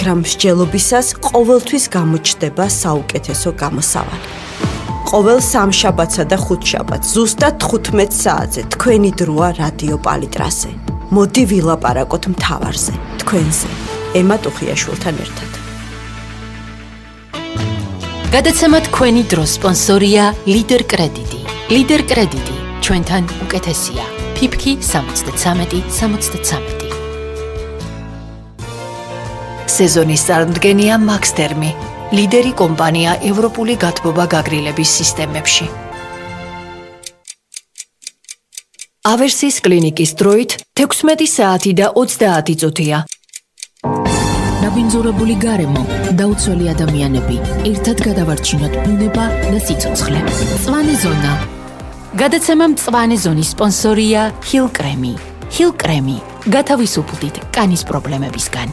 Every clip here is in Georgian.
მაგრამ მსჯელობისას ყოველთვის გამოჩნდება საუკეთესო გამოსავალი. ყოველ სამშაბათსა და ხუთშაბათს ზუსტად 15 საათზე თქვენი დროა რადიო პალიტრაზე. მოდი ვილაპარაკოთ მთავარზე, თქვენზე, ემა ტუხიაშვილთან ერთად. გადაცემა თქვენი დროს სპონსორია ლიდერ კრედიტი. ლიდერ კრედიტი ჩვენთან უკეთესია. ფიფქი 73-73. სეზონის წარმდგენია მაქსთერმი, ლიდერი კომპანია ევროპული გათბობა გაგრილების სისტემებში. ავერსის კლინიკის დროით 16 საათი და 30 წუთია. ნაბინძურებული გარემო, დაუცველი ადამიანები, ერთად გადავარჩინოთ ბუნება და სიცოცხლე. მწვანე ზონა. გადაცემა მწვანე ზონის სპონსორია ჰილ კრემი. ჰილ კრემი, გათავისუფლდით კანის პრობლემებისგან.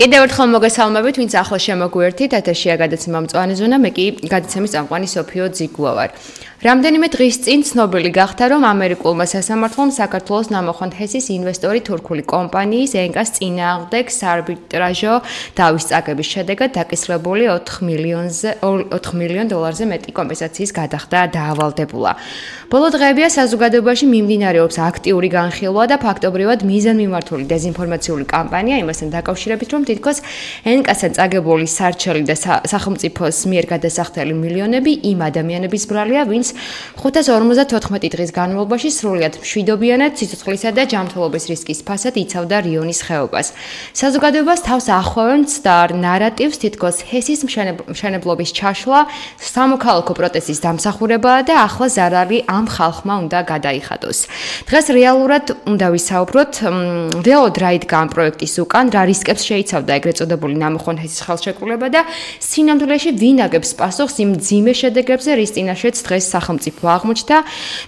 კიდევ ერთხელ მოგესალმებით, ვინც ახლა შემოგვერთით, ეთერშია გადაცემა მწვანე ზონა, მე კი გადაცემის წამყვანი სოფიო ძიგუა ვარ. რამდენიმე დღის წინ ცნობილი გახდა, რომ ამერიკულმა სასამართლომ საქართველოს ნამოხვან ჰესის ინვესტორი თურქული კომპანიის ენკას წინააღმდეგ საარბიტრაჟო დავის წაგების შედეგად დაკისრებული $4 მილიონ მეტი კომპენსაციის გადახდა დაავალდებულა. ბოლო დღეებია საზოგადოებაში მიმდინარეობს აქტიური განხილვა და ფაქტობრივად მიზანმიმართული დეზინფორმაციული კამპანია იმასთან დაკავშირებით, რომ თითქოს ენკასთან წაგებული სარჩელი და სახელმწიფოს მიერ გადასახდელი მილიონები იმ ადამიანების ბრალია, ვინც 554 დღის განმავლობაში სრულიად მშვიდობიანად სიცოცხლისა და ჯანმრთელობის რისკის ფასად იცავდა რიონის ხეობას. საზოგადოებას თავს ახვევენ მცდარ ნარატივს, თითქოს ჰესის მშენებლობის ჩაშლა სამოქალაქო პროტესტის დამსახურებაა და ახლა ზარალი ამ ხალხმა უნდა გადაიხადოს. დღეს რეალურად უნდა ვისაუბროთ, რეალურად რა იდგა ამ პროექტის უკან, რა რისკებს შეიცავდა ეგრეთ წოდებული ნამოხვან ჰესის ხელშეკრულება და სინამდვილეში ვინ აგებს პასუხს იმ მძიმე შედეგებზე, რის წინაშეც დღეს სახელმწიფო აღმოჩნდა.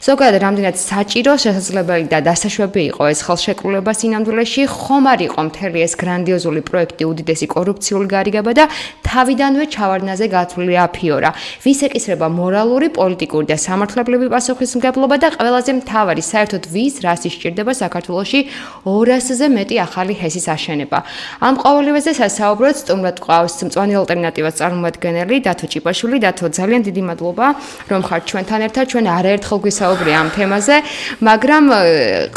ზოგადად რამდენად საჭირო, შესაძლებელი და დასაშვები იყო ეს ხელშეკრულება სინამდვილეში, ხომ არ იყო მთელი ეს გრანდიოზული პროექტი უდიდესი კორუფციული გარიგება და თავიდანვე ჩავარდნაზე გათვლილი აფიორა. ვის ეკისრება მორალური, პოლიტიკური და სამართლებრივი პასუხისმგებლობა და ყველაზე მთავარი, საერთოდ ვის რას ისჭირდება საქართველოში 200-ზე მეტი ახალი ჰესის აშენება. ამ ყოველივეზე სასაუბროთ სტუმრად გვყავს მწვანე ალტერნატივას წარმომადგენელი დათო ჭიპაშვილი. დათო, ძალიან დიდი მადლობა, რომ ხართ ჩვენთან ერთად. ჩვენ არაერთხელ გვისაუბრია ამ თემაზე, მაგრამ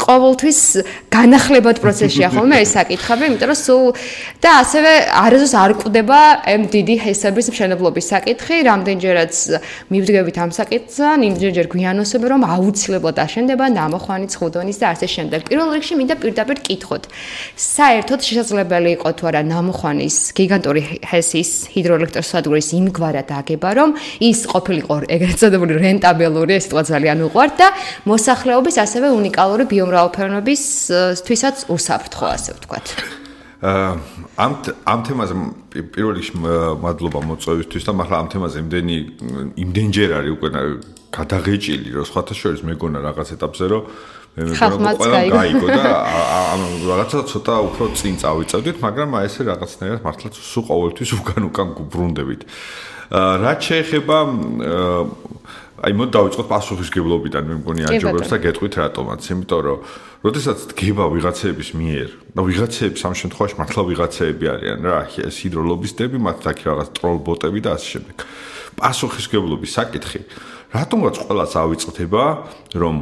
ყოველთვის განახლებად პროცესშია ხოლმე ეს საკითხები, იმიტომ რომ სულ და ასევე არასდროს არ კვდება ამ დიდი ჰესების მშენებლობის საკითხი, რამდენჯერაც მივდგებით ამ საკითხთან, იმჯერჯერ გვიანოსებ, რომ აუცილებლად აშენდება ნამოხვანი ცხუდონის და ასე შემდეგ. პირველ რიგში მინდა პირდაპირ კითხოთ. საერთოდ შესაძლებელი იყო თუ არა ნამოხვანის გიგანტური ჰესის ჰიდროელექტროსადგურის იმგვარად აგება, რომ ის ყოფილიყო ეგრეთ წოდებული რენტაბელური, ეს სიტყვა ძალიან უყვართ და მოსახლეობის ასევე უნიკალური ბიომრავალფეროვნებისთვისაც უსაფრთხო, ასე ვთქვათ. ამ თემაზე პირველ რიგში მადლობა მოწვევისთვის და მაგრამ ამ თემაზე იმდენჯერ არის უკვე გადაღეჭილი, რომ სხვათა შორის მეგონა რაღაც ეტაპზე, რომ მე მეგონა ყველა გაიგო და რაღაცა ცოტა უფრო წინ წავიწევდით, მაგრამ აი ესე რაღაცნაირად მართლაც სულ ყოველთვის უკან გუბრუნდებით. რაც შეეხება აი მოდ დავიწყოთ პასუხისმგებლობიდან, მე მგონი აჯობებს და გეტყვით რატომაც, იმიტომ რომ როდესაც დგება ვიღაცეების მიერ და ვიღაცეები სამ შემთხვევაში მართლა ვიღაცეები არიან რა, ეს ჰიდროლობისტები, მათ აქ რაღაც ტროლბოტები და ასე შემდეგ. პასუხისმგებლობის საკითხი რატომაც ყველას ავიწყდება, რომ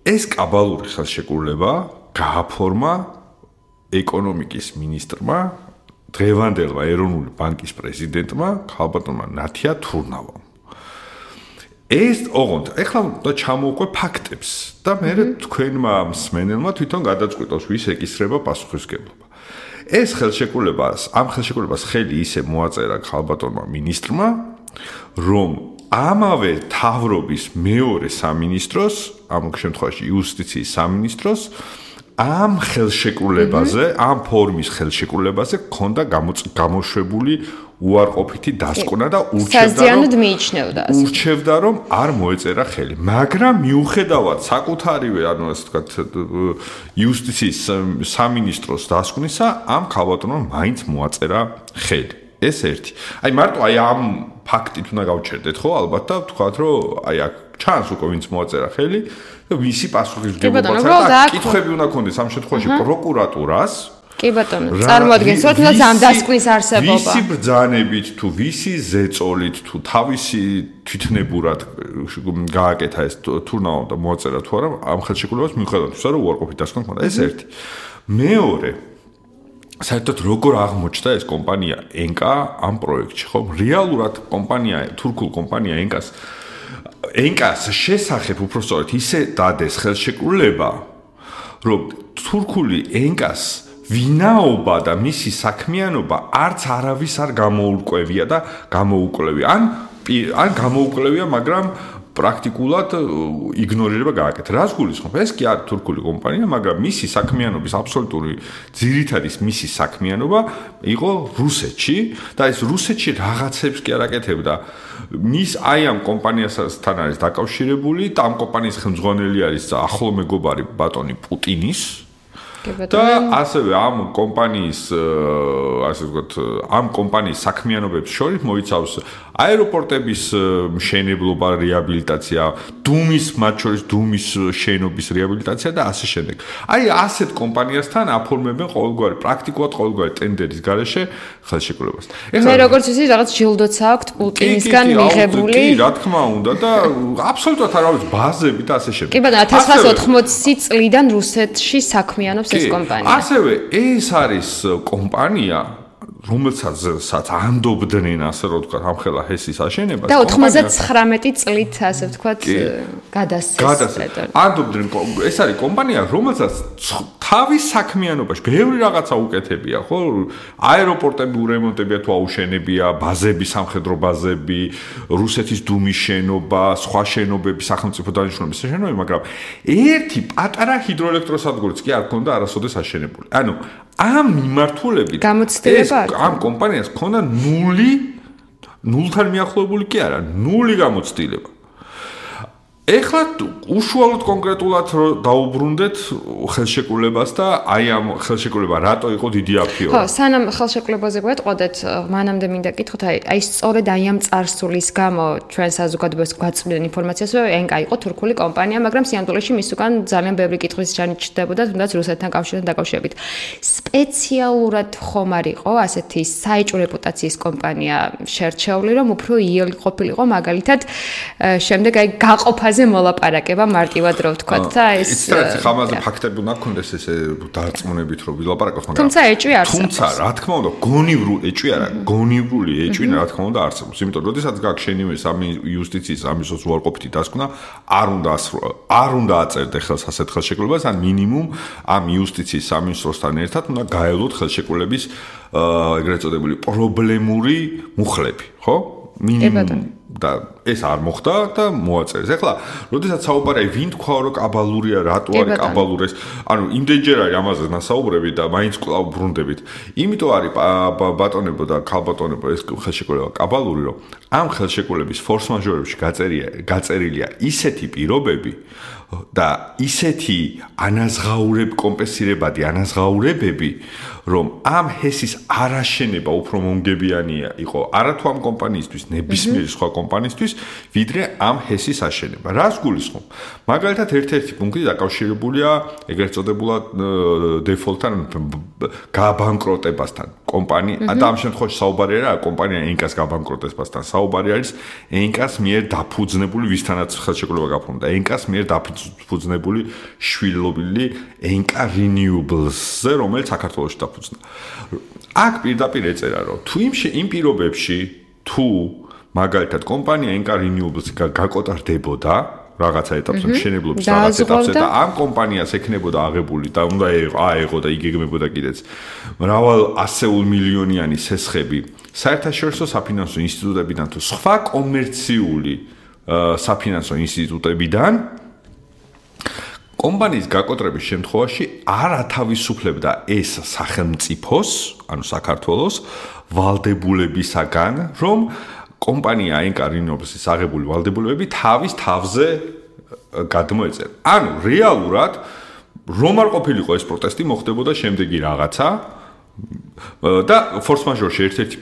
ეს კაბალური ხელშეკრულება გააფორმა ეკონომიკის მინისტრმა, დღევანდელმა ეროვნული ბანკის პრეზიდენტმა, ქალბატონმა ნათია თურნავამ. ეს ოღონდ ეხლა და ჩამოვყვე ფაქტებს და მე თქვენმა მსმენელმა თვითონ გადაწყვიტოს ვის ეკისრება პასუხისმგებლობა. ეს ამ ხელშეკრულებას ხელი ისე მოაწერა ქალბატონმა მინისტრმა, რომ ამავე თავრობის მეორე სამინისტროს, ამ შემთხვევაში იუსტიციის სამინისტროს ამ ხელშეკრულებაზე, ამ ფორმის ხელშეკრულებაზე ქონდა გამოშვებული უარყოფითი დასკვნა და ურჩევდა რომ არ მოეწერა ხელი. მაგრამ მიუხედავად საკუთარივე, ანუ ასე ვთქვათ, იუსტიციის სამინისტროს დასკვნისა, ამ ქალბატონმა მაინც მოაწერა ხელი. ეს ერთი. აი მარტო ამ ფაქტით უნდა გავჩერდეთ ხო ალბათ და ვთქვათ რომ აი აქ ჩანს უკვე ვინც მოაწერა ხელი და ვისი პასუხისმგებლობაა და კითხვები უნდა ქონდეს ამ შემთხვევაში პროკურატურას კი ბატონო, წარმოადგენს თუნდაც ამ დასკვნის არსებობა. ვისი ბრძანებით თუ ვისი ზეწოლით თუ თავისი თვითნებურად გააკეთა ეს თურნაო და მოაწერა თუ არა ამ ხელშეკრულებას მიუხედავად ისა რომ უარყოფით დასკვნა ხონდა ეს ერთი. მეორე საერთოდ როგორ აღმოჩნდა ეს კომპანია ენკა ამ პროექტში, ხო? რეალურად კომპანია, თურქულ კომპანია ენკას შესახებ უпростоრეთ ისე დადეს ხელშეკრულება, რომ თურქული ენკას ვინაობა და მისი საქმიანობა არც არავის არ გამოურკვევია და გამოუკლევია. ან გამოუკლევია, მაგრამ პრაქტიკულად იგნორირება გააკეთა. რას გულისხმობ? ეს კი არ თურქული კომპანია, მაგრამ მისი საქმიანობის აბსოლუტური ძირითადის მისი საქმიანობა იყო რუსეთში და ეს რუსეთში რაღაცებს კი არ აკეთებდა. მის აი ამ კომპანიასთან არის დაკავშირებული და ამ კომპანიის ხელმძღვანელი არის ახლო მეგობარი ბატონი პუტინის და ასევე ამ კომპანიის ასე ვთქვათ ამ კომპანიის საქმიანობებს შორის მოიცავს აეროპორტების მშენებლობა, რეაბილიტაცია, მათ შორის დუმის შენობის რეაბილიტაცია და ასე შემდეგ. აი ასეთ კომპანიასთან აფორმებენ პრაქტიკულად ყოველგვარი ტენდერის გარეშე ხელშეკრულებას. მე როგორც ვიცი, რაღაც ჯილდოც აქვს პუტინისგან მიღებული. კი, რა თქმა უნდა და აბსოლუტურად არავის ბაზები და ასე შემდეგ. კი ბატონო, 1980 წლიდან რუსეთში საქმიანობს ეს კომპანია. ასევე ეს არის კომპანია რომელსაც ანდობდნენ ასე რომ ვთქვათ ამ ხელა ჰესის აშენებას და 99 წლით ასე ვთქვათ გადასცეს. ანდობდნენ ეს არის კომპანია რომელსაც თავის საქმიანობაში ბევრი რაღაცა უკეთებია, ხო? აეროპორტები ურემონტებია თუ აუშენებია, ბაზები, სამხედრო ბაზები, რუსეთის დუმის შენობა, სხვა შენობები, სახელმწიფო დანიშნულების შენობები, მაგრამ ერთი პატარა ჰიდროელექტროსადგურიც კი არ ქონდა არასოდეს აშენებული. ანუ ამ მიმართულებით ამ კომპანიას ქონდა ნულთან მიახლოებული კი არა, ნული გამოცდილება. ეხლა უშუალოდ კონკრეტულად დაუბრუნდეთ ხელშეკრულებას და აი ამ ხელშეკრულება რატო იყო დიდი აფიო? ხო, სანამ ხელშეკრულებაზე გვეტყოდეთ, მანამდე მინდა კითხოთ, აი სწორედ აი ამ წარსულის გამო ჩვენ საზოგადოებას გვაწვდენ ინფორმაციას, რომ ენკა იყო თურქული კომპანია, მაგრამ სიამოვნებაში მის უკან ძალიან ბევრი კითხვის ჟანი ჩნდებოდა, თუნდაც რუსეთთან კავშირთან დაკავშირებით. სპეციალურად ხომ არ იყო ასეთი საეჭვო რეპუტაციის კომპანია შერჩეული, რომ უფრო იელი ყოფილიყო მაგალითად შემდეგ აი გაყოფა მოლაპარაკება მარტივად რო ვთქვათ და ეს ისეთ ხამაზე ფაქტები უნდა გქონდეს ესე დარწმუნებით რომ ვილაპარაკოთ, მაგრამ თუმცა ეჭვი არსებობს. თუმცა რა თქმა უნდა გონივრული ეჭვი არა, გონივრული ეჭვი რა თქმა უნდა არსებობს. იმიტომ რომ როდესაც გაქვს შენივე სამი იუსტიციის ამისოს უარყოფითი დასკვნა, არ უნდა აწერდე ხელს ასეთ ხელშეკრულებას, ან მინიმუმ ამ იუსტიციის სამინისტროსთან ერთად უნდა გაელოთ ხელშეკრულების ეგრეთ წოდებული პრობლემური მუხლები, ხო? მინიმუმ და ეს არ მოხდა და მოაწერეს. ეხლა, როდესაც საუბარია ვინ თქვა რომ კაბალურია, რატო არის კაბალური ეს, ანუ იმდენჯერ არის ამაზე ნასაუბრები და მაინც კვლავ ბრუნდებით. იმიტომ არის ბატონებო და ქალბატონებო ეს ხელშეკრულება კაბალური, რომ ამ ხელშეკრულების ფორს-მაჟორებში გაწერილია ისეთი პირობები და ისეთი კომპენსირებადი ანაზღაურებები, რომ ამ ჰესის არაშენება უფრო მომგებიანია იყო არათუ ამ კომპანიისთვის, ნებისმიერი სხვა კომპანიისთვის, ვიდრე ამ ჰესის აშენება. რას გულისხმობ? მაგალითად, ერთ-ერთი პუნქტი დაკავშირებულია ეგრეთ წოდებულად დეფოლტთან, გაბანკროტებასთან. კომპანია და ამ შემთხვევაში საუბარი არა კომპანია ენკას გაბანკროტებასთან, საუბარი არის ენკას მიერ დაფუძნებული, ვისთანაც ხელშეკრულება გაფორმდა, ენკას მიერ დაფუძნებული შვილობილი ენკა Renewables-ზე, რომელიც საქართველოში დაფუძნა. აქ პირდაპირ ეწერა, რომ თუ იმ პირობებში თუ მაგალითად კომპანია ენკა Renewables გაკოტარდებოდა რაღაცა ეტაპზე, მშენებლობის რაღაც ეტაპზე და ამ კომპანიას ექნებოდა აღებული და უნდა აეღო და იგეგმებოდა კიდეც მრავალ ასეულ მილიონიანი სესხები საერთაშორისო საფინანსო ინსტიტუტებიდან თუ სხვა კომერციული საფინანსო ინსტიტუტებიდან კომპანიის გაკოტრების შემთხვევაში არ ათავისუფლებდა ეს სახელმწიფოს, ანუ საქართველოს ვალდებულებისაგან, რომ კომპანია ენკა Renewables-ის აღებული ვალდებულებები თავის თავზე გადმოეწერა. ანუ რეალურად რომ არ ყოფილიყო ეს პროტესტი, მოხდებოდა შემდეგი რაღაცა და ფორს-მაჟორში ერთ-ერთი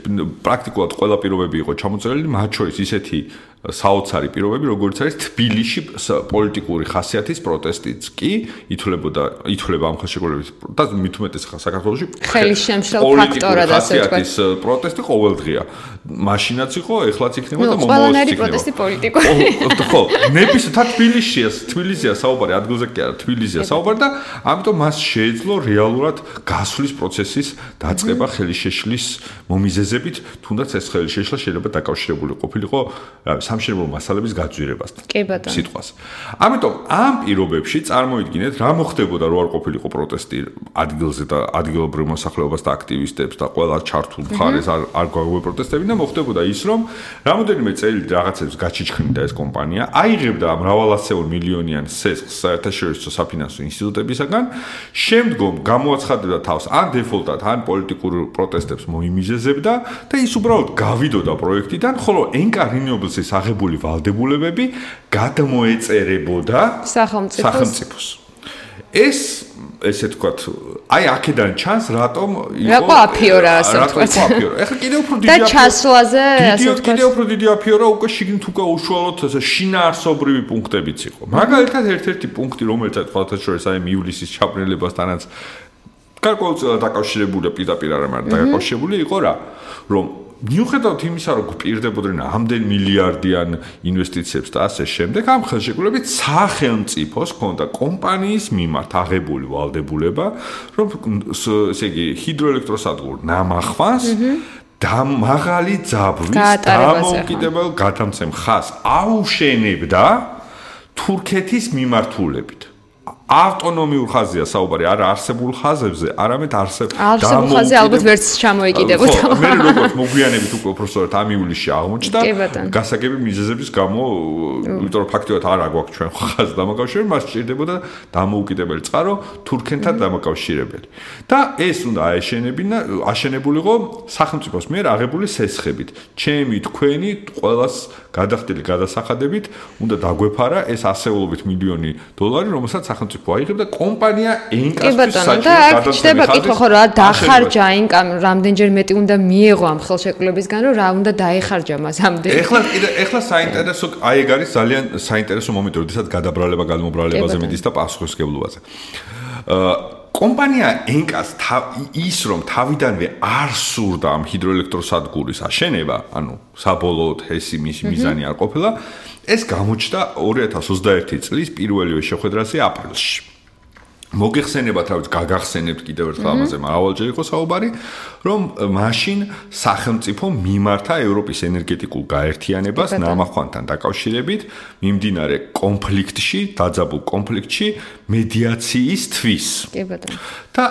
პრაქტიკულად ყველა პირობები იყო ჩამოწერილი, მათ შორის ისეთი საოცარი პირობები, როგორც არის თბილისში პოლიტიკური ხასიათის პროტესტიც კი ითვლება ამ ხელშეკრულების და მით უმეტეს საქართველოში ხელისშემშლელ ფაქტორად ასე ვთქვათ. ხასიათის პროტესტი ყოველდღია. მაშინაც იყო, ეხლაც იქნება და ყველანაირი პროტესტი პოლიტიკური. ხო, ნებისმიერ თბილისია საუბარი, ადგილზე კი არა, თბილისია საუბარი და ამიტომ მას შეეძლო რეალურად გასვლის პროცესის დაწყება ხელისშეშლის მომიზეზებით, თუნდაც ეს ხელისშეშლა შეიძლება დაკავშირებული ყოფილიყო სამშენებლო მასალების გაძვირებასთან. კი ბატონო. სიტყვას. ამიტომ ამ პირობებში წარმოიდგინეთ, რა მოხდებოდა რო არ ყოფილიყო პროტესტი ადგილზე და ადგილობრივ მოსახლეობას და აქტივისტებს და ყველა ჩართულ მხარეს არ გვაგვე პროტესტები და მოხდებოდა ის, რომ რამოდენიმე წელი რაღაცებს გაჩიჩქნიდა ეს კომპანია, აიღებდა მრავალასეულ მილიონიან სესხს საერთაშორისო საფინანსო ინსტიტუტებისაგან, შემდგომ გამოაცხადებდა თავს ან დეფოლტად, ან პოლიტიკურ პროტესტებს მოიმიზეზებდა და ის უბრალოდ გავიდოდა პროექტიდან, ხოლო ენკა რინიობლსის აღებული ვალდებულებები გადმოეწერებოდა სახელმწიფოს. ესე თქვათ, აი აქედან ჩანს რატომ იყო აფიორა ასე ვთქვათ. ეხლა კიდევ უფრო დიდი და ჩასვლაზე ასე ვთქვათ. კიდევ უფრო დიდი აფიორა უკვე შიგნით უკვე უშუალოდ შინაარსობრივი პუნქტებიც იყო. მაგალითად ერთ-ერთი პუნქტი, რომელიც თქვათ შორის აი ივლისის ჩაბრნელებასთანაც გარკვეულწილად დაკავშირებულია პირდაპირ არ მაგრამ დაკავშირებული იყო რა, რომ მიუხედავად იმისა, რომ გვპირდებოდნენ ამდენ მილიარდიან ინვესტიციებს და ასე შემდეგ, ამ ხელშეკრულებით სახელმწიფოს ჰქონდა კომპანიის მიმართ აღებული ვალდებულება, რომ ესე იგი ჰიდროელექტროსადგურ ნამახვანს და მაღალი ძაბვის დამოუკიდებელ გადამცემ ხაზს აუშენებდა თურქეთის მიმართულებით. ავტონომიურ ხაზია საუბარი, არა არსებულ ხაზებზე, არამედ არსებულ ხაზზე ალბათ ვერც ჩამოეკიდებოდა. მე როგორც მოგვიანებით უკვე უბრალოდ ამ ივლისში აღმოჩნდა გასაგები მიზეზების გამო, იმიტომ რომ ფაქტობრივად არ აგვაქვს ჩვენ ხაზს დამაკავშირებელი, მას სჭირდებოდა დამოუკიდებელი წყარო თურქენთან დამაკავშირებელი. და ეს უნდა აშენებულიყო სახელმწიფოს მიერ აღებული სესხებით. ჩემი თქვენი ყველას გადახდილი გადასახადებით უნდა დაგვეფარა ეს ასეულობით მილიონი დოლარი, რომელსაც სახელმწიფო აიღებდა კომპანია ენკასთვის საჭირო გადაცემის. ხდება კითხვა ხო რა დახარჯა ენკამ, რამდენჯერ მეტი უნდა მიეღო ამ ხელშეკრულებისგან, რომ რა უნდა დაეხარჯა მას ამდენი. ეხლა საინტერესო, აი ეგ არის ძალიან საინტერესო მომენტი, როდესაც გადაბრალება გადმობრალებაზე მიდის და პასუხისმგებლობაზე. კომპანია ენკას ის რომ თავიდანვე არ სურდა ამ ჰიდროელექტროსადგურის აშენება, ანუ საბოლოოდ ეს მისი მიზანი არ ყოფილა, ეს გამოჩნდა 2021 წლის პირველივე შეხვედრაზე აპრილში. მოგეხსენებათ, რა ვიცი, გაგახსენებთ კიდევ ერთხელ ამაზე, მრავალჯერ იყო საუბარი, რომ მაშინ სახელმწიფო მიმართა ევროპის ენერგეტიკულ გაერთიანებას ნამახვანთან დაკავშირებით მიმდინარე კონფლიქტში, დაძაბულ კონფლიქტში მედიაციისთვის. კი ბატონო. და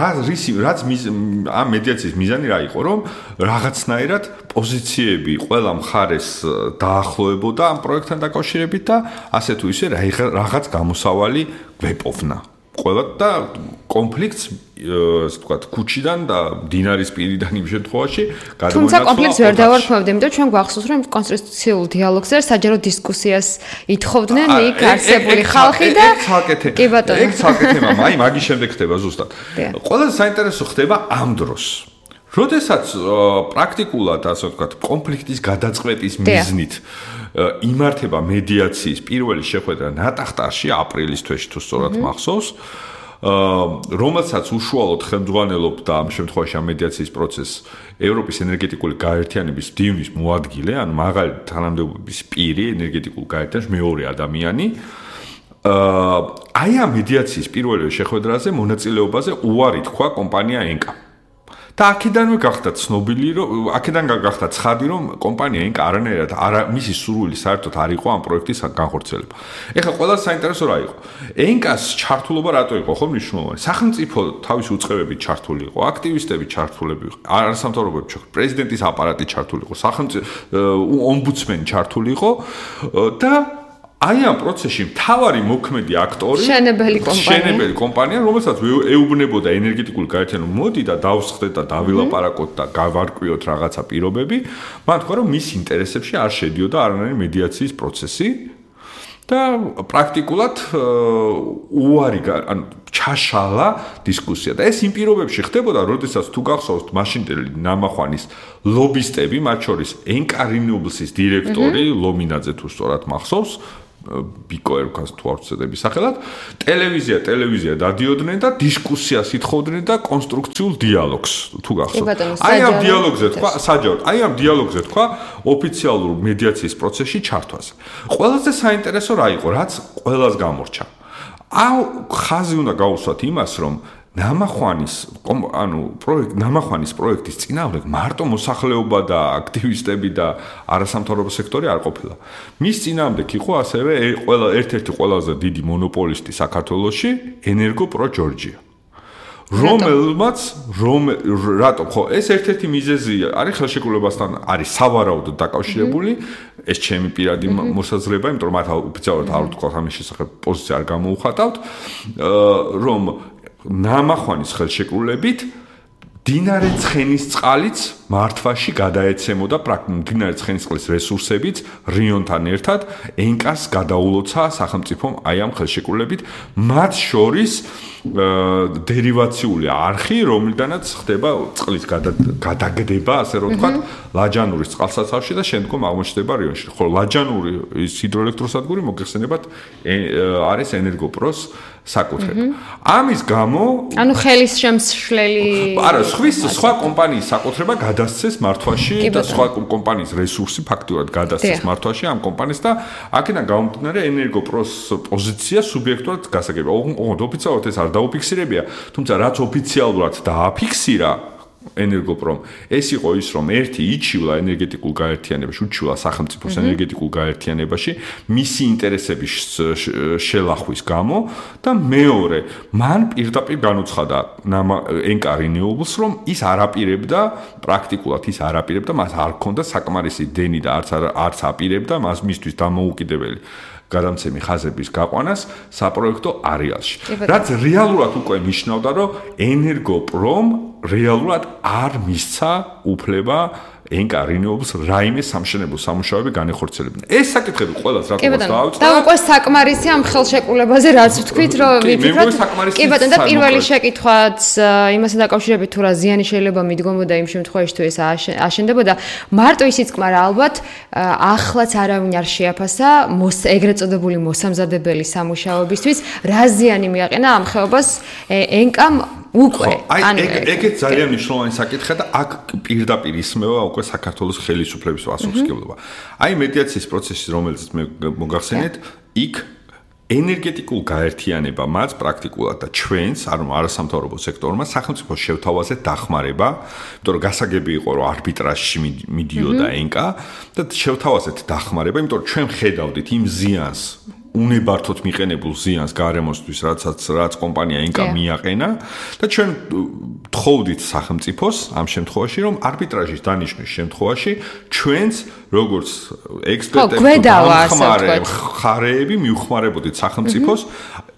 რაც ამ მედიაციის მიზანი რა იყო, რომ რაღაცნაირად პოზიციები ყველა მხარეს დაახლოებოდა ამ პროექტთან დაკავშირებით და ასე თუ ისე რაღაც გამოსავალი გვეპოვნა. ყველა და კონფლიქტს ასე ვთქვათ, ქუჩიდან და დინარის პირიდან იმ შემთხვევაში გადმოინაცვლა. თუმცა კონფლიქტს ვერ დავარქმევდი, იმიტომ ჩვენ გვახსოვს, რომ კონსტიტუციულ დიალოგზე საჯარო დისკუსიას ითხოვდნენ იქ არსებული ხალხი და კი ბატონო. ეგ ცალკე თემა, აი მაგის შემდეგ ხდება ზუსტად. ყველაზე საინტერესო ხდება ამ დროს. როდესაც პრაქტიკულად ასე ვთქვათ, კონფლიქტის გადაწყვეტის მიზნით იმართება მედიაციის პირველი შეხვედრა ნატახტარში აპრილის თვეში თუ სწორად მახსოვს, რომელსაც უშუალოდ ხელმძღვანელობდა ამ შემთხვევაში ამ მედიაციის პროცესს ევროპის ენერგეტიკული გაერთიანების მდივნის მოადგილე, ანუ მაღალი თანამდებობის პირი ენერგეტიკულ გაერთიანებაში მეორე ადამიანი. აი ამ მედიაციის პირველი შეხვედრაზე მონაწილეობაზე უარი თქვა კომპანია ენკა. და აქედანვე გახდა ცნობილი, რომ აქედან გახდა ცხადი, რომ კომპანია ენკა არანაირად მისი სურვილი საერთოდ არ იყო ამ პროექტის განხორციელება. ეხლა ყველაზე საინტერესო რა იყო? ენკას ჩართულობა რატო იყო ხო მნიშვნელოვანი? სახელმწიფო თავისი უწყებებით ჩართული იყო, აქტივისტები ჩართულები იყო, არასამთავრობოები ჩართული, პრეზიდენტის აპარატი ჩართული იყო, სახელმწიფო ომბუდსმენი ჩართული იყო და აი ამ პროცესში მთავარი მოქმედი აქტორი შენებელი კომპანია, რომელსაც ეუბნებოდა ენერგეტიკული გაერთიანება, მოდი და დავსხდეთ და დავილაპარაკოთ და გავარკვიოთ რაღაცა პირობები, მან თქვა, რომ მის ინტერესებში არ შედიოდა არანაირი მედიაციის პროცესი და პრაქტიკულად უარი ანუ ჩაშალა დისკუსია და ეს იმ პირობებში ხდებოდა, როდესაც თუ გახსოვთ მაშინდელი ნამახვანის ლობისტები, მათ შორის ენკა Renewables-ის დირექტორი ლომინაძე თუ სწორად მახსოვს, ბიკო ერქას თუ არ ვცდები სახელად, ტელევიზია დადიოდნენ და დისკუსიას ითხოვდნენ და კონსტრუქციულ დიალოგს თუ გახსოვთ. აი ამ დიალოგზე თქვა, საჯაროდ, აი ამ დიალოგზე თქვა ოფიციალურ მედიაციის პროცესში ჩართვაზე. ყველაზე საინტერესო რა იყო, რაც ყველას გამორჩა. ხაზი უნდა გაუსვათ იმას, რომ ნამახვანის პროექტის წინააღმდეგ მარტო მოსახლეობა და აქტივისტები და არასამთავრობო სექტორი არ ყოფილა. მის წინააღმდეგ იყო ასევე ერთ-ერთი ყველაზე დიდი მონოპოლისტი საქართველოში, ენერგოპრო ჯორჯია. რატომ ხო ეს ერთ-ერთი მიზეზი არის ხელშეკრულებასთან არის სავარაუდოდ დაკავშირებული, ეს ჩემი პირადი მოსაზრება, იმიტომ რომ მათ ოფიციალურად არ ვთქვათ ამის შესახებ პოზიცია არ გამოუხატავთ, რომ ნამახვანის ხელშეკრულებით მდინარე ცხენისწყალიც მართვაში გადაეცემოდა მდინარე ცხენისწყლის რესურსებით რიონთან ერთად ენკას გადაულოცა სახელმწიფომ აი ამ ხელშეკრულებით მათ შორის დერივაციული არხი, რომლიდანაც ხდება წყლის გადაგდება, ასე რომ ვთქვათ, ლაჯანურის წყალსაცავში და შემდგომ აღმოჩნდება რიონში. ხოლო ლაჯანური ის ჰიდროელექტროსადგური მოგეხსენებათ არის ენერგოპროს საკუთრება. ამის გამო ანუ ხელის შემსვლელი არა, სხვა კომპანიის საკუთრება გადასცეს მართვაში და სხვა კომპანიის რესურსი ფაქტურად გადასცეს მართვაში ამ კომპანიას და აქედან გამომდინარე ენერგოპროს პოზიცია სუბიექტურად გასაგებია. ოღონდ ოფიციალურად ეს არ დაუფიქსირებია, თუმცა რაც ოფიციალურად დააფიქსირა ენერგოპრომ, ეს იყო ის, რომ ერთი იჩივლა ენერგეტიკულ გაერთიანებაში, უჩივლა სახელმწიფოს ენერგეტიკულ გაერთიანებაში, მისი ინტერესების შელახვის გამო და მეორე, მან პირდაპირ განუცხადა ენკა Renewables, რომ ის არაპირებდა, პრაქტიკულად ის არაპირებდა, მას არ ჰქონდა საკმარისი დენი და არც აპირებდა მას მისთვის დამოუკიდებელი გადამცემი ხაზების გაყვანას საპროექტო არეალში. რაც რეალურად უკვე ნიშნავდა, რომ ენერგოპრომ რეალურად არ მისცა უფლება ენკა Renewables რაიმე სამშენებლო სამუშაოები განეხორციელებინა. ეს საკითხები ყველას რატომაც დაავწდა. და უკვე საკმარისი ამ ხელშეკრულებაზე რაც ვთქვით, რომ ვიფიქროთ. კი ბატონო, და პირველი შეკითხვაც იმასთან დაკავშირებით თუ რა ზიანი შეიძლება მიდგომოდა იმ შემთხვევაში თუ ეს აშენდებოდა, მარტო ისიც კმარა ალბათ ახლაც არავინ არ შეაფასა ეგრეთ წოდებული მოსამზადებელი სამუშაოებისთვის, რა ზიანი მიაყენა ამ ხეობას ენკამ უკვე. ანუ ეგეც ძალიან მნიშვნელოვანი საკითხია და აქ პირდაპირ ისმევა უკვე საქართველოს ხელისუფლების პასუხისმგებლობა. აი მედიაციის პროცესი, რომელიც მე მოგახსენეთ, იქ ენერგეტიკულ გაერთიანებამაც პრაქტიკულად და ჩვენს, ანუ არასამთავრობო სექტორმა სახელმწიფოს შევთავაზე დახმარება, იმიტომ რომ გასაგები იყო, რომ არბიტრაჟში მიდიოდა ენკა და შევთავაზეთ დახმარება, იმიტომ რომ ჩვენ ხედავდით იმ ზიანს უნებართოდ მიყენებულ ზიანს გარემოსთვის, რაც კომპანია ენკა მიაყენა და ჩვენ თხოვდით სახელმწიფოს ამ შემთხვევაში, რომ არბიტრაჟის დანიშვნის შემთხვევაში ჩვენს როგორც ექსპერტები ხარეები მივხმარებოდით სახელმწიფოს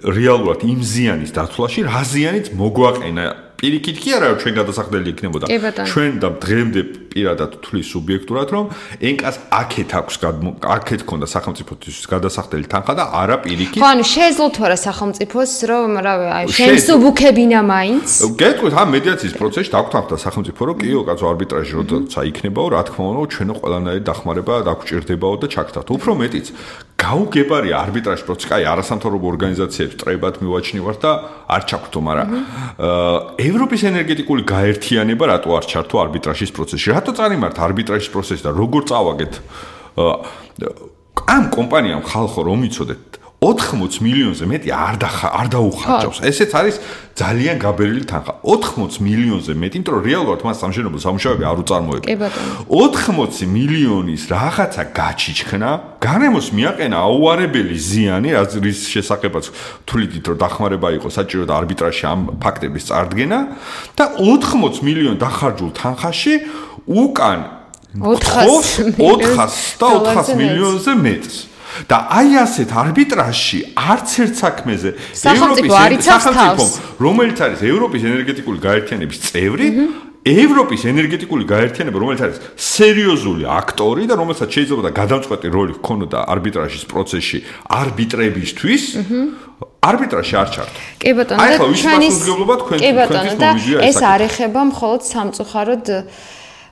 რეალურად იმ ზიანის დაცვლაში, რა ზიანიც მოგვაყენა. პირიქით კი არა, ჩვენ გადასახდელი იქნებოდა. ჩვენ და დღემდე პირადად თვლის სუბიექტურად, რომ ენკას აქეთ ქონდა სახელმწიფოსთვის გადასახდელი თანხა და არა პირიქით. ხო, ანუ შეეძლო თუ არა სახელმწიფოს, რომ შემსუბუქებინა მაინც. გეტყვით, ამ მედიაციის პროცესში დაგვთანხმდა სახელმწიფო, რომ კიო, კაცო, არბიტრაჟი როცა იქნებაო, რა თქმა უნდა, ჩვენო ყველანაირი დახმარება დაგვჭირდებაო და ჩაგდათ. უფრო მეტიც, გაუგებარია არბიტრაჟ პროცესი, აი, არასამთავრობო ორგანიზაციებს ტრებად მივაჩნევართ და არ ჩაგვთო, მაგრამ ევროპის ენერგეტიკული გაერთიანება რატო არ ჩართო არბიტრაჟის პროცესში? რატო წარიმართ არბიტრაჟის პროცესი და როგორ წავაგეთ? ამ კომპანიამ ხალხო რომ იცოდეთ 80 მილიონზე მეტი არ დაუხარჯავს. ესეც არის ძალიან გაბერილი თანხა. 80 მილიონზე მეტი, იმიტომ რომ რეალურად მას სამშენებლო სამუშაოები არ უწარმოებდა. 80 მილიონის რაღაცა გაჩიჩქნა, გარემოს მიაყენა აუარებელი ზიანი, რის შესახებაც თვლიდით, რომ დახმარება იყო საჭირო და არბიტრაჟში ამ ფაქტების წარდგენა და 80 მილიონ დახარჯულ თანხაში უკან 400 მილიონზე მეტს. და აი ასეთ არბიტრაჟში არც ერთ საქმეზე სახელმწიფო, რომელიც არის ევროპის ენერგეტიკული გაერთიანების წევრი, ევროპის ენერგეტიკული გაერთიანება, რომელიც არის სერიოზული აქტორი და რომელსაც შეიძლება და გადამწყვეტი როლი ჰქონოდა არბიტრაჟის პროცესში არბიტრებისთვის, არბიტრაჟი არ ჩართო. კი ბატონო, და ჩვენის და ეს არ ეხება მხოლოდ სამწუხაროდ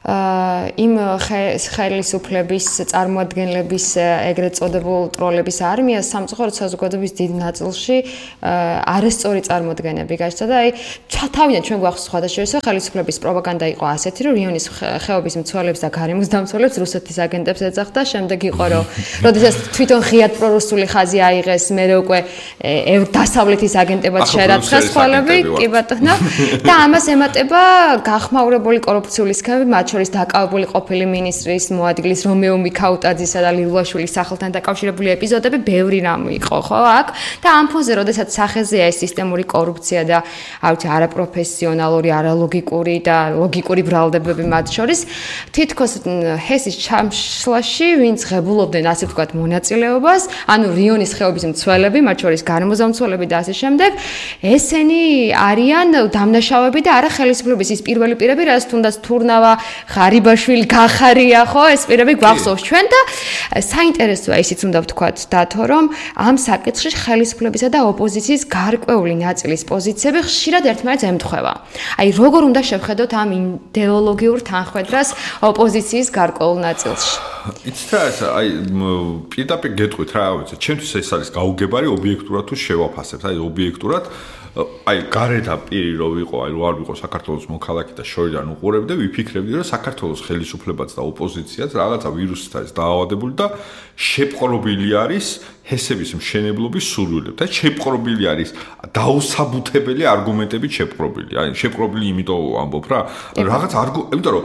იმ ხელისუფლების წარმოადგენლების ეგრეთ წოდებულ ტროლების არმიას სამწუხაროდ საზოგადოების დიდ ნაწილში არასწორი წარმოდგენები გაჩნდა და აი თავიდან ჩვენ გვახსოვს სხვადასხვა ხელისუფლების პროპაგანდა იყო ასეთი, რომ რიონის ხეობის მცველებს და გარემოს დამცველებს რუსეთის აგენტებს ეძახდა, შემდეგ იყო რომ როდესაც თვითონ ღიად პრორუსული ხაზი აიღეს, მერე უკვე დასავლეთის აგენტებად შერაცხეს ხოლები, კი ბატონო, და ამას ემატება გახმაურებული კორუფციული სქემები, მათ შორის დაკავებული ყოფილი მინისტრის მოადგილის რომეო მიქაუტაძისა და ლიულაშვილის სახელთან დაკავშირებული ეპიზოდები ბევრი რამ იყო, ხო, აქ და ამ ფონზე, როდესაც სახეზეა ეს სისტემური კორუფცია და არაპროფესიონალური, არალოგიკური და ლოგიკური ბრალდებები მათ შორის, თითქოს ჰესის ჩამშლაში, ვინც ღებულობდნენ ასე ვთქვათ მონაწილეობას, ანუ რიონის ხეობის მცველები, მათ შორის გარემოსდამცველები და ასე შემდეგ, ესენი არიან დამნაშავეები და არა ხელისუფლების ის პირველი პირები, რაც თუნდაც თურნავა ღარიბაშვილი გახარია, ხო, ეს პირები გვახსოვს ჩვენ და საინტერესოა ისიც უნდა ვთქვათ დათო, რომ ამ საკითხში ხელისუფლებისა და ოპოზიციის გარკვეული ნაწილის პოზიციები ხშირად ერთმანეთს ემთხვევა. აი, როგორ უნდა შევხედოთ ამ იდეოლოგიურ თანხმედრას ოპოზიციის გარკვეულ ნაწილში? იცით რა, აი, პირდაპირ გეტყვით რა, ვიცი, ჩემთვის ეს არის გაუგებარი ობიექტურად თუ შევაფასებთ, აი, ობიექტურად აი გარეთ პირი რო ვიყო, აი რო არ ვიყო საქართველოს მოქალაქე და შორიდან უყურებდი, ვიფიქრებდი რომ საქართველოს ხელისუფლებაც და ოპოზიციაც რაღაცა ვირუსით არის დაავადებული და შეპყრობილი არის ჰესების მშენებლობის სურვილებით. აი შეპყრობილი არის დაუსაბუთებელი არგუმენტებით შეპყრობილი. აი შეპყრობილი იმიტომ ამბობ რა, რაღაც იმიტომ რომ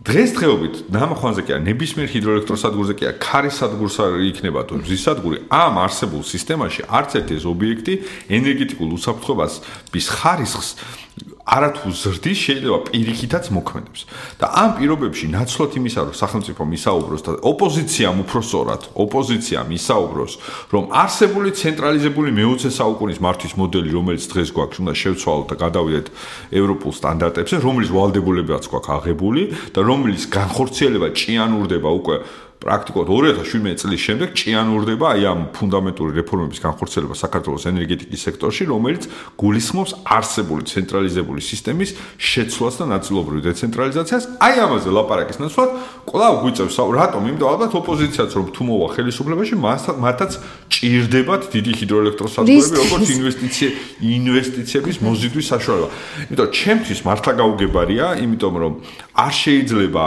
დღესდღეობით ნამახვანზე კი არა, ნებისმიერ ჰიდროელექტროსადგურზე კი არა, ქარის სადგურს იქნება თუ მზის სადგური, ამ არსებულ სისტემაში არც ერთი ეს ობიექტი ენერგეტიკულ უსაფრთხოების ხარისხს არათუ ზრდის შეიძლება პირიქითაც მოქმედებს. და ამ პირობებში ნაცვლად იმისა, რომ სახელმწიფო მისაუბროს და ოპოზიციამ უпроსორად, ოპოზიციამ მისაუბროს, რომ არსებული ცენტრალიზებული მე-20 საუკუნის მართვის მოდელი, რომელიც დღეს გვაქვს, უნდა შევცვალოთ და გადავიდეთ ევროპულ სტანდარტებზე, რომლის ვალდებულებაც გვაქვს აღებული და რომლის განხორციელება ჭიანურდება უკვე პრაქტიკულად 2017 წლის შემდეგ ჭიანურდება აი ამ ფუნდამენტური რეფორმების განხორციელება საქართველოს ენერგეტიკის სექტორში, რომელიც გულისხმობს არსებული ცენტრალიზებული სისტემის შეცვლას და ნაწილობრივ დეცენტრალიზაციას. აი ამაზე ლაპარაკის ნაცვლად კვლავ გვიწევს რატომ? იმიტომ ალბათ ოპოზიციაც რომ თუ მოვა ხელისუფლებაში, მათაც ჭირდებათ დიდი ჰიდროელექტროსადგურები, როგორც ინვესტიციების მოზიდვის საშუალება. იმიტომ ჩემთვის მართლა გაუგებარია, იმიტომ რომ არ შეიძლება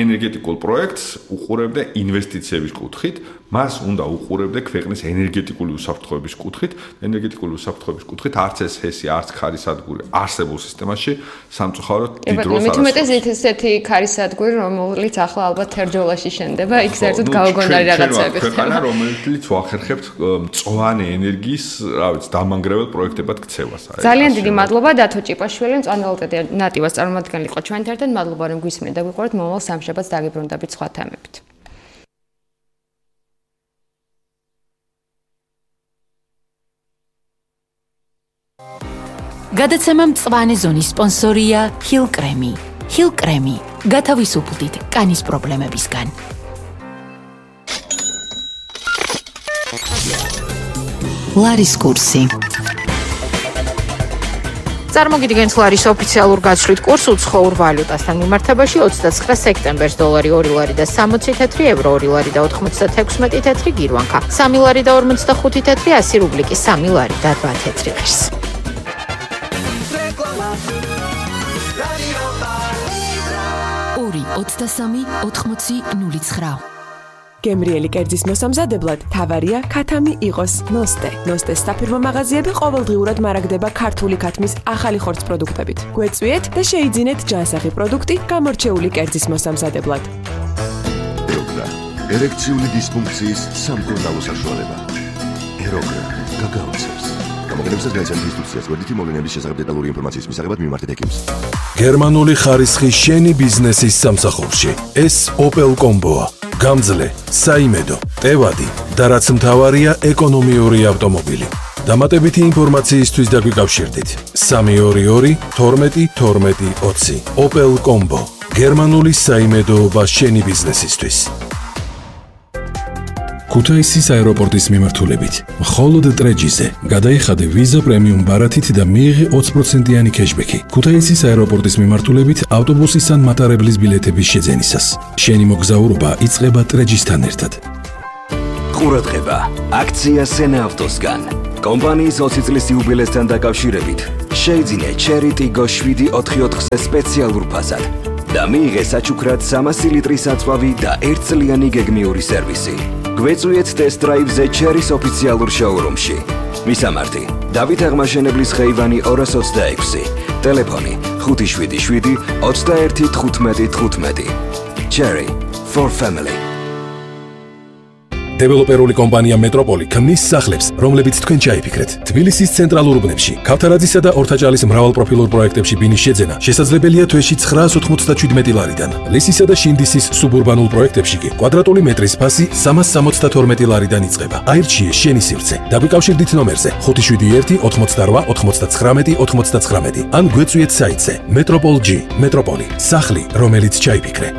ენერგეტიკულ პროექტს უყურებდა ინვესტიციების კუთხით, მას უნდა უყურებდა ქვეყნის ენერგეტიკული უსაფრთხოების კუთხით, ენერგეტიკული უსაფრთხოების კუთხით არც ეს ჰესი, არც ქარის სადგური არსებულ სისტემაში სამწუხაროდ დიდ როლს არ ასრულებს. მეტუმეტეს ესეთი ქარის სადგური, რომელიც ახლა ალბათ თერჯოლაში შენდება, იქ საერთოდ გაუგონარი რაღაცები ხდება. რომელიც ვახერხებთ მწვანე ენერგიის, რა ვიცი, დამანგრეველ პროექტებად ქცევას. ძალიან დიდი მადლობა დათო ჭიპაშვილი, მწვანეულტეტი ნატივას წარმომადგენელი იყო ჩვენთან ერთად. მადლობა რომ გვისმენთ და გვიყურებთ. მომავალ სამშაბათს დაგიბრუნდებით სხვა თემებით. გადაცემა მწვანე ზონის სპონსორია ჰილ კრემი. ჰილ კრემი. გათავისუფლდით კანის პრობლემებისგან. ლარის კურსი. წარმოგიდგენთ ლარის ოფიციალურ გაცვლით კურსს უცხოურ ვალუტასთან მიმართებაში 29 სექტემბერს დოლარი 2 ლარი და 60 თეთრი, ევრო 2 ლარი და 96 თეთრი გირვანქა, 3 ლარი და 45 თეთრი, 100 რუბლიკი 3 ლარი და 8 თეთრი ღირს. 23-80-09. გემრიელი კერძის მოსამზადებლად თავარია ქათამი იყოს ნოსტე. ნოსტეს საფირმო მაღაზიები ყოველდღიურად მარაგდება ქართული ქათმის ახალი ხორცს პროდუქტებით. გვეწვიეთ და შეიძინეთ ჯანსაღი პროდუქტი გამორჩეული კერძის მოსამზადებლად. ეროგრა, ერექციული დისფუნქციის სამკურნალო საშუალება. ეროგრა, გაგაოცებს. გამოგონებისას გაიცანთ ინსტრუქციას გვერდითი მოვლენების შესახებ დეტალური ინფორმაციის მისაღებად მიმართეთ ექიმს. გერმანული ხარისხი შენი ბიზნესის სამსახურში. ეს Opel Combo-ა. გამძლე, საიმედო, ტევადი და რაც მთავარია ეკონომიური ავტომობილი. დამატებითი ინფორმაციისთვის დაგვიკავშირდით 322 12 12 20. Opel Combo. გერმანული საიმედოობა შენი ბიზნესისთვის. ქუთაისის აეროპორტის მიმართულებით მხოლოდ ტრეჯიზე გადაიხადე ვიზა პრემიუმ ბარათით და მიიღე 20%-იანი кэშბექი. ქუთაისის აეროპორტის მიმართულებით ავტობუსის ან მატარებლის ბილეთების შეძენისას. შენი მოგზაურობა იწყება ტრეჯისთან ერთად. ყურადღება, აქცია სენა ავტოსგან. კომპანიის 20 წლის იუბილესთან დაკავშირებით შეიძინე Cherry Tiggo 744-ზე სპეციალურ ფასად და მიიღე საჩუქრად 300 ლიტრის აწვავი და 1 წლიანი გეგმიური სერვისი. გვეწვიეთ ტესტ დრაივზე Cherry-ს ოფიციალურ შოურუმში. მისამართი: დავით აღმაშენებლის ხეივანი 226. ტელეფონი 577 21 15 15. Cherry for family. დეველოპერული კომპანია მეტროპოლი ქმნის სახლებს, რომლებიც თქვენ ჩაიფიქრეთ. თბილისის ცენტრალურ უბნებში, ქავთარაძისა და ორთაჭალის მრავალპროფილურ პროექტებში ბინის შეძენა შესაძლებელია თვეში 997 ლარიდან. ლისისა და შინდისის სუბურბანულ პროექტებში კი კვადრატული მეტრის ფასი 372 ლარიდან იწყება. აირჩიე შენი სივრცე. დაგვიკავშირდით ნომერზე 571 88 99 99 ან გვეწვიეთ საიტზე Metropol.G. მეტროპოლი, სახლი, რომელიც ჩაიფიქრე.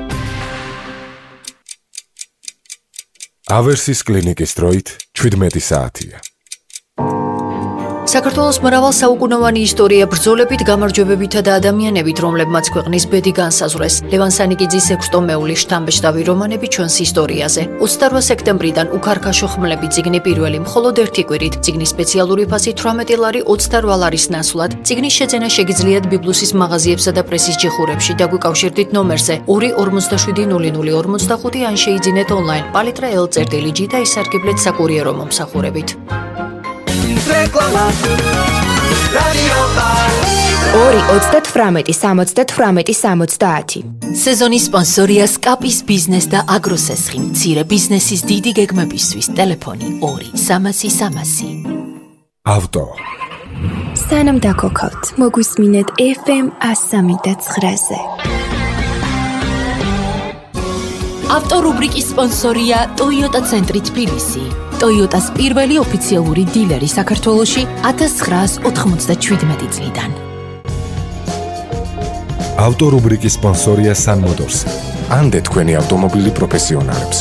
ავერსის კლინიკის დროით 17 საათია. საქართველოს მრავალ საუკუნოვანი ისტორია ბრძოლებით, გამარჯვებებითა და ადამიანებით, რომლებმაც ქვეყნის ბედი განსაზღვრეს. ლევან სანიკიძის 6-მეულის შთამბეჭდავი რომანები ჩვენს ისტორიაზე. 28 სექტემბრიდან უქარქაშო ხმლები წიგნი პირველი მხოლოდ ერთი კვირით. წიგნის სპეციალური ფასი 18 ლარი 28 ლარის ნაცვლად. წიგნის შეძენა შეგიძლიათ ბიბლუსის მაღაზიებსა და პრესის ჯიხურებში. დაგვიკავშირდით ნომერზე 2470045 ან შეიძინეთ ონლაინ palitra.l/g და ისარგებლეთ საკურიერო მომსახურებით. 2-38-70-70. სეზონის სპონსორია სკაპის ბიზნეს და აგროსესხი. მცირე ბიზნესის დიდი გეგმებისთვის ტელეფონი 2-300-300. ავტო. სანამ დაქოქავთ, მოგვისმინეთ FM 103.9-ზე. ავტორუბრიკის სპონსორია Toyota ცენტრი თბილისი. Toyota-ს პირველი ოფიციალური დილერი საქართველოში 1997 წლიდან. ავტორუბრიკის სპონსორია Sun Motors. ანდე თქვენი ავტომობილი პროფესიონალებს.